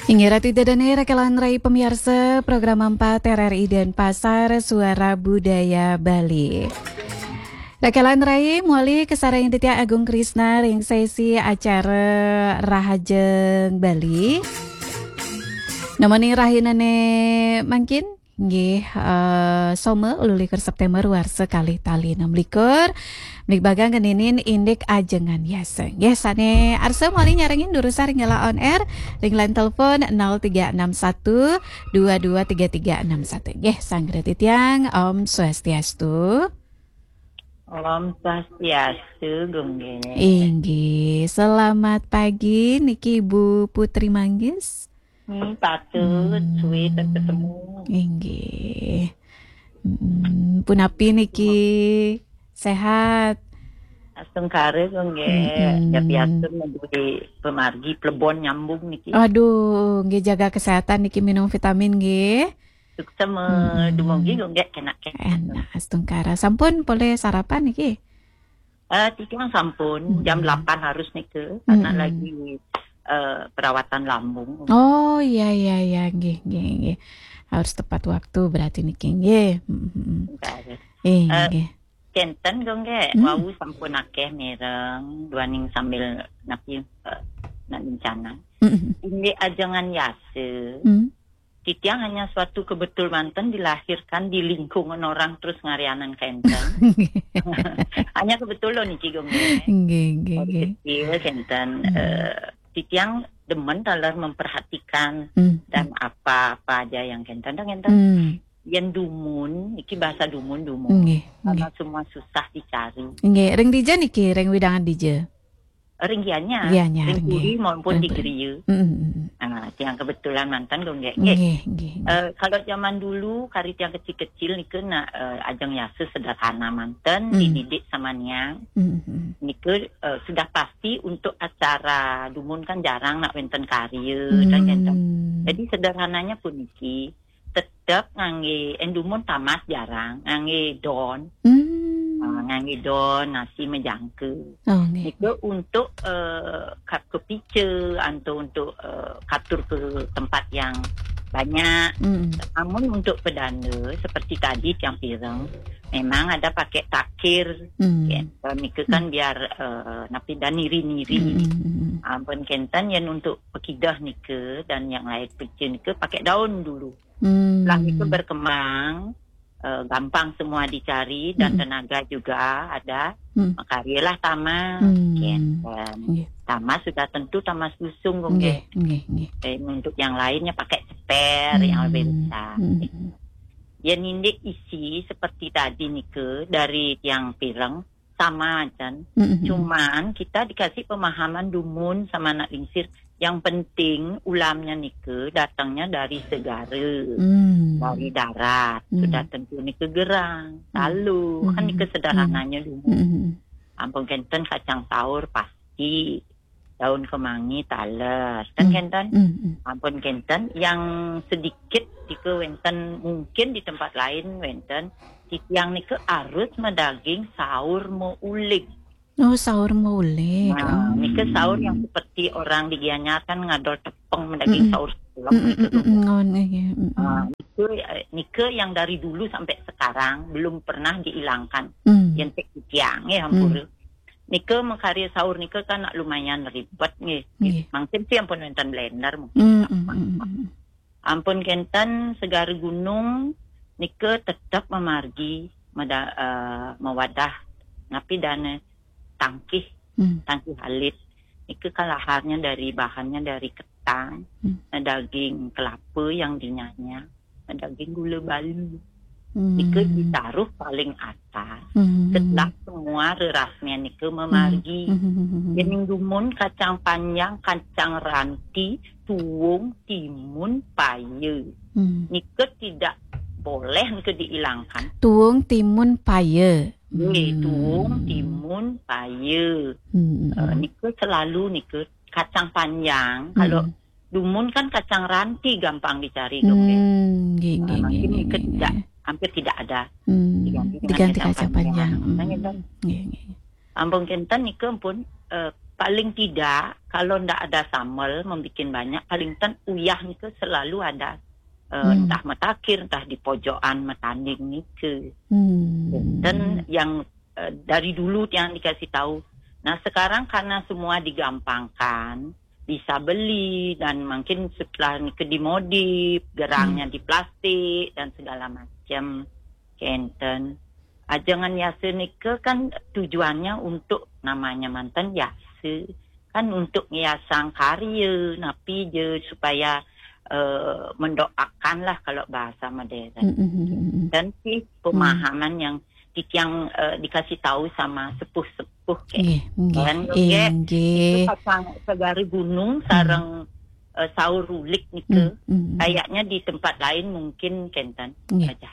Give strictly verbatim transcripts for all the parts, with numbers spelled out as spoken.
Inggih, Ratu Ida Dane, Rakelan Rai pamiarsa Program empat R R I Denpasar, Suara Budaya Bali. Rakelan Rai, mawali kasarengin titiang Agung Krisna ring sesi acara Rahajeng Bali. Namaning rahinane mangkin, nggih, eh, Soma, wolu likur September, warsa kalih tali enam likur. Mligbagang ngeninin indik ajengan yasa. Nggih, sane arsa mawali nyarengin durusang ring galah on air, ring line telepon nol tiga enam satu dua dua tiga tiga enam satu. Nggih, sanggra titiang, Om Swastiastu. Om Swastiastu, Gung Gé. Inggih, selamat pagi niki Ibu Putri Manggis. Hmm, patut, hmm, suwe tak ketemu. Inggih. Hmm, punapi niki? Sehat? Astungkara, Gung Gé. Mm-mm. Ya, biasa nunggu di pemargi, plebon nyambung niki. Aduh, nggih, jaga kesehatan niki, minum vitamin nggih. Suksma, mm-mm, dumugi, Gung Gé, kenak-kenak. Enak, astungkara. Sampun polih sarapan niki? Eh, titiang sampun, jam, mm-mm, delapan harus nika, karena, mm-mm, lagi, eh, perawatan lambung. Oh, iya, iya, iya, nggih, nggih, nggih. Harus tepat waktu berarti niki, nggih. Mm-mm. Nggih. Eh, eh, nggih. Kenten, Gung Gé, mm, wau sampun akeh mireng, duaning sambil napi, eh, nak rencana. Mm-mm. Indik ajengan yasa, mm, titiang hanya suatu kebetul manten dilahirkan di lingkungan orang terus ngarianan kenten. Hanya kebetulan niki, Gung Gé. Nggih, nggih, dari nggih, kecil kenten, hmm, eh, titiang demen taler memperhatikan, hmm, dan apa-apa aja yang kenten, kenten. Hmm. Yen dumun, iki bahasa dumun, dumun. Nggih, karena nggih, semua susah dicari. Nggih, ring dija niki, ring wewidangan dija? Ring Gianyar, Gianyar, ring puri, nggih, maupun ring di puri, griya. Mm, mm, mm. Ah, tiang kebetulan manten, Gung Gé. Nggih. Nggih, nggih, nggih. Eh, kalau zaman dulu, kari tiang kecil-kecil nika nak, eh, ajeng yasa sederhana manten, mm, dididik sama niang. Mm, mm, mm. Nika, eh, sudah pasti untuk acara dumun kan jarang nak wenten karya, dan, mm, wenten. Jadi sederhananya puniki, tetep ngangge, eh, dumun tamas jarang, ngangge don. Hmm. Ah, ngangge don, nasi majangka. Oh, nggih. Nika untuk, eh, ka-, kapica, anto untuk, eh, katur ke tempat yang banyak. Hmm. Namun untuk pedanda, seperti tadi tiang pireng, memang ada pakai takir. Hmm. Ya, kalau nika kan, hmm, biar, eh, napi dah niri-niri. Hmm, hmm, hmm, hmm. Ampun kenten, yen untuk pekidah nika dan yang lain pica nika pakai daun dulu. Hmm. Lah nika berkembang, eh, gampang semua dicari dan, hmm, tenaga juga ada. Hmm. Makaryalah tamas, hmm, kenten. Nggih. Tamas sudah tentu tamas lusung, Gung Gé. Nggih, nggih, nggih. Eh, untuk yang lainnya pakai ceper yang lebih, hmm, besar. Hmm. Yen indik isi seperti tadi nika dari tiang pireng, sama jan. Mm-mm. Cuman kita dikasih pemahaman dumun sama anak lingsir. Yang penting ulamnya nika datangnya dari segara, hmm, dari darat. Hmm. Sudah tentu nika gerang, hmm, talu. Kan nika, hmm, sederhananya dumun. Hmm. Ampun kenten kacang saur pasti, daun kemangi taler. Kan, hmm, kenten? Hmm, hmm. Ampun kenten, yang sedikit nika wenten, mungkin di tempat lain wenten, titiang nika arus madaging saur maulig. Oh, saur maulig. Nah, oh, nika saur yang seperti orang di Gianyar kan ngadol tepung madaging, mm-mm, saur selem, mm-mm, nika, mm-mm, nika. Oh, iya, mm-mm. Ah, nika, eh, nika yang dari dulu sampai sekarang belum pernah dihilangkan. Hmm. Yen cek titiang, ya, hmm, ampura. Nika makarya saur nika kan lumayan ribet nggih. Nggih. Mangkin sih ampun wenten blender mungkin. Hmm, hmm, hmm, hmm. Ampun kenten segara gunung nika tetep mamargi meda-, eh, mawadah napi dane tangkih, hmm, tangkih alit. Nika kan laharnya dari, bahannya dari ketang, hmm, daging kelapa yang dinyanya, daging gula bali. Hmm. Nika ditaruh paling atas. Hmm. Setelah semua rerasnya nika mamargi. Hmm. Hmm. Yen dumun kacang panjang, kacang ranti, tuung, timun, paya. Hmm. Nika tidak boleh nika dihilangkan. Tuung, timun, paya. Nggih, hmm, tuung, timun, paya. Hmm. Eh, nika selalu nika kacang panjang. Hmm. Kalau dumun kan kacang ranti gampang dicari, Gung Gé. Hmm, nggih, ah, nggih, mungkin nggih, nika nggih, tidak, nggih, hampir tidak ada. Hmm, diganti dengan, diganti kacang, kacang panjang, panjang. Hmm. Nah, gitu. Nggih, nggih. Ampun kenten nika pun, eh, paling tidak kalau ndak ada sambal, membikin banyak, paling ten uyah nika selalu ada, eh, hmm, entah metakir, entah di pojokan metanding nika. Hmm. Dan yang, eh, dari dulu yang dikasih tahu. Nah, sekarang karena semua digampangkan, bisa beli dan mungkin setelah nika dimodif, gerangnya, hmm, di plastik dan segala macam. Kenten. Ajengan yasa nika kan tujuannya untuk namanya manten yasa. Kan untuk ngiasang karya, napi je supaya, eh, mendoakan lah kalau bahasa modern. Mm, mm, mm, mm. Dan si, hmm, pemahaman yang titiang, eh, dikasih tahu sama sepuh-sepuh ke. Nggih, nggih. Dan juga, eh, nggih, itu pasang segara gunung, hmm, sareng, eh, saur rulik nika. Hmm, hmm, hmm. Kayaknya di tempat lain mungkin kenten. Nggih. Aja.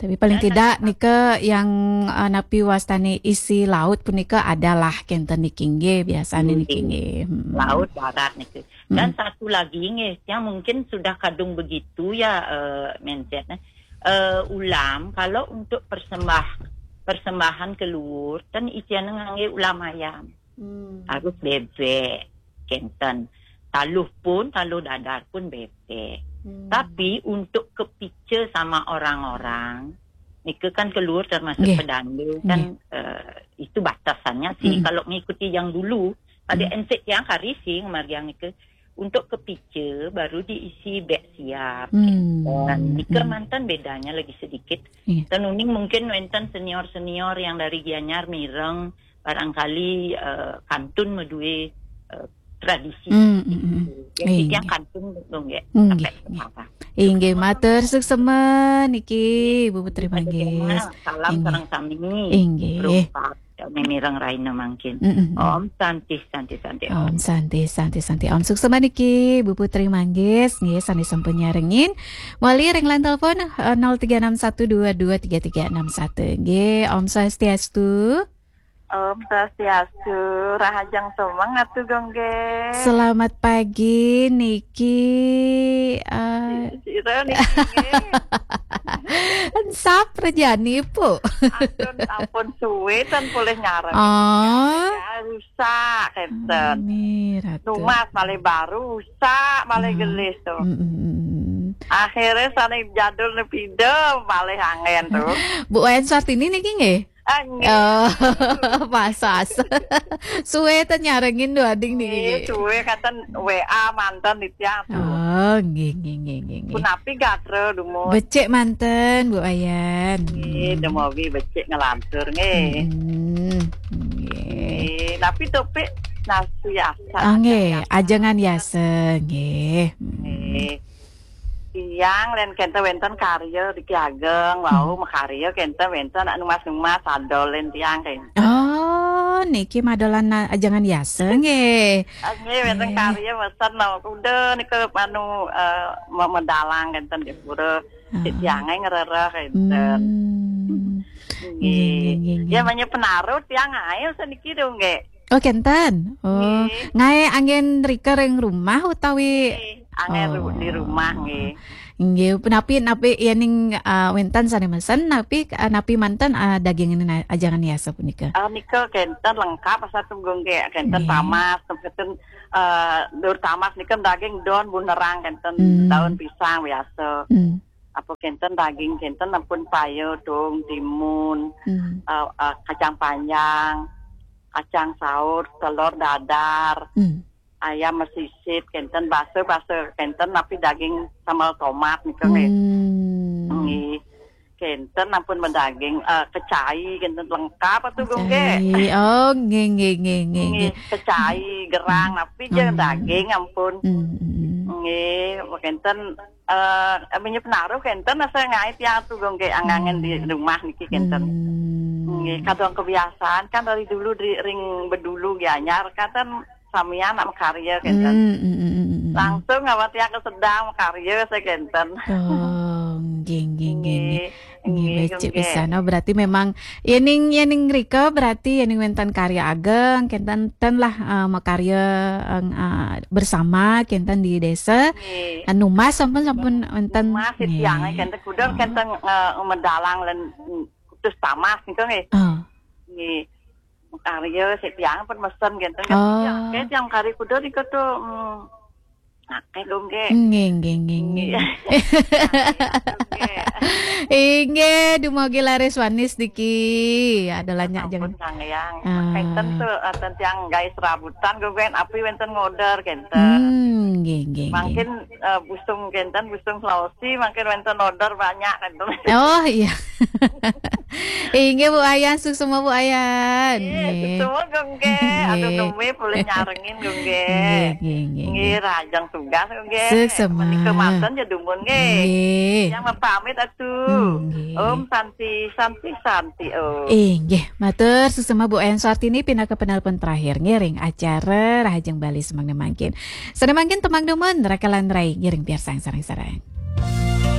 Tapi paling tidak nika yang, eh, napi wastane isi laut punika adalah kenten niki nggih, biasane niki nggih. Hmm. Laut darat niki. Dan, hmm, satu lagi nggih, yang mungkin sudah kadung begitu ya, eh, mindset, eh. Eh, ulam kalau untuk persembah-, persembahan ke luhur, ten isiannya ngangge ulam ayam. Hmm. Harus bebek, kenten. Taluh pun, taluh dadar pun bebek. Hmm. Tapi untuk kepica sama orang-orang, nika kan ke luhur termasuk, nggih, pedanda kan, nggih, eh, itu batasannya sih. Hmm. Kalau mengikuti yang dulu, pada, hmm, ensek yang hari sih, ngemargiang nika. Untuk kepica baru diisi bek siap. Hmm. Dan nika, hmm, manten bedanya lagi sedikit. Iya. Dan uning mungkin wenten senior-senior yang dari Gianyar mireng, barangkali, eh, kantun medue, eh, tradisi. Hmm, hmm, hmm. Jadi, iya, dia kantun dong ya, hmm, sampai, iya, sekarang. Inggih, matur suksema niki, Bu Putri Manggis. Salam, inggih, sareng sami. Inggih. Rupa, ya, mireng raina mangkin. Mm, mm, mm. Om Santi, Santi, Santi, Om. Om Santi, Santi, Santi, Om. Suksema niki, Bu Putri Manggis, nggih, sane sampun nyarengin. Wali ring line telepon, eh, nol tiga enam satu dua dua tiga tiga enam satu. Nggih, Om Swastiastu. Om Swastiastu, rahajeng semeng Atu Gong nggih. Selamat pagi niki, eh, si-, sira niki nggih. Sap rejani, Pu. Ampun, ampun suwe ten polih nyareng. Oh. Ya, rusak kenten. Amin, Ratu. Numas malih baru, rusak malih, hmm, gelis tuh. Mm, mm, mm, mm. Akhirnya sane jadul nepida malih angen tuh. Bu Wayan Sartini niki nggih? Ah, nggih. Oh, pasas. Suwe ten nyarengin duh ading niki. Nggih, suwe kenten W A manten titiang tuh. Oh, nggih, nggih, nggih, nggih, nggih. Punapi gatra dumun? Becik manten, Bu Wayan. Nggih, dumawi becik ngelantur nggih. Hmm, nggih. Nggih, tapi topik nasi asal. Ah, nggih, ajengan yasa, nggih. Hmm. Nggih. Tiang len kenten wenten karya riki ageng, wau, hmm, makarya kenten wenten numas-numas adol len tiang kenten. Oh, niki madolan na-, ajengan yasa nggih. Ah, nggih, wenten, nggih, karya mesen no. Kuda nika anu, eh, me-, medalang kenten di pura. Ah. Cik tiang ae ngrereh kenten. Hmm. Nggih. Nggih, nggih, nggih, nggih. Ya, manya penaruh tiang ae seniki dong nggih. Oh, kenten. Oh, nggih. Ngae anggen rika ring rumah utawi? Nggih, anggen ru-, di rumah, oh, nggih. Nggih, napi, napi yening, ah, wenten sane mesen, napi, ah, napi manten, ah, daging na-, ajengan yasa punika? Ah, nika kenten lengkap asa tunggung nggih, kenten, nggih, tamas, kenten, eh, dur tamas nika daging don bunerang kenten, hmm, daun pisang biasa. Hmm. Apa kenten daging kenten ampun paya, dong, timun, hmm, eh, eh, kacang panjang, kacang saur, telur dadar, hmm, ayam mesisit, kenten basa-basa, kenten napi daging sambal tomat nika nggih. Hmm. Nggih. Kenten ampun medaging, eh, kecai, kenten lengkap atu, Gung, nggih. Kecai. Oh, nggih, nggih, nggih, nggih, nggih, nggih. Kecai, gerang, hmm, napi je, hmm, daging ampun. Hmm, hmm, hmm. Nggih, kenten, eh, minyak penaruh kenten asa ngae tiang atu, Gung, nggih, angangen di, hmm, rumah niki kenten. Hmm. Nggih, kadang kebiasaan kan dari dulu di ring bedulu nggih anyar kenten samian nak makarya kenten. Hmm, hmm, hmm, hmm, hmm. Langsung awak tiang ke sedang makarya saya kenten. Oh, nggih, nggih, nggih, nggih. Nggih, nggih, becik, nggih, pisan. Oh, berarti memang yening, yening rika berarti yening wenten karya ageng, kenten ten lah, eh, makarya, eh, eh, bersama kenten di desa. Nggih. Anu mas sampun, sampun wenten. Mas, nggih, tiang kenten kuda, oh, kenten, eh, medalang len, mm, kutus tamas nika nggih. Oh. Nggih. Karya sik tiang pun mesen gitu. Oh. Tiang, kayak tiang kari kuda di koto, hmm, akeh dong ge. Nggih, nggih, nggih, nggih. Nggih. Inggih, dumugi laris wanis niki. Ada lanyak Ampun jangan. Sang Hyang. Ah. Wenten tuh, wenten tiang gawe serabutan gue ben api wenten ngorder kenten. Hmm, nggih, nggih, nggih. Mungkin eh, busung kenten, busung Sulawesi, mungkin wenten order banyak kenten. Oh iya. Inggih Bu Ayan, suksma Bu Ayan. Iya, Nggih. semua gue. Aduh, Nggih. Ngembe boleh nyarengin gue. Nggih, nggih, nggih, Nggih, nggih. Rajang tugas gue. Suksma. Menika manten ya dumun nggih. Nggih. Yang mau pamit atuh. Hmm, nggih. Om Santi, Santi, Santi, Om. Inggih, matur suksma Bu Ayan Suartini pinaka penelpon terakhir ngiring acara Rahajeng Bali semangna mangkin. Semangna mangkin temang dumun, rakalan rai ngiring piarsang sareng-sareng.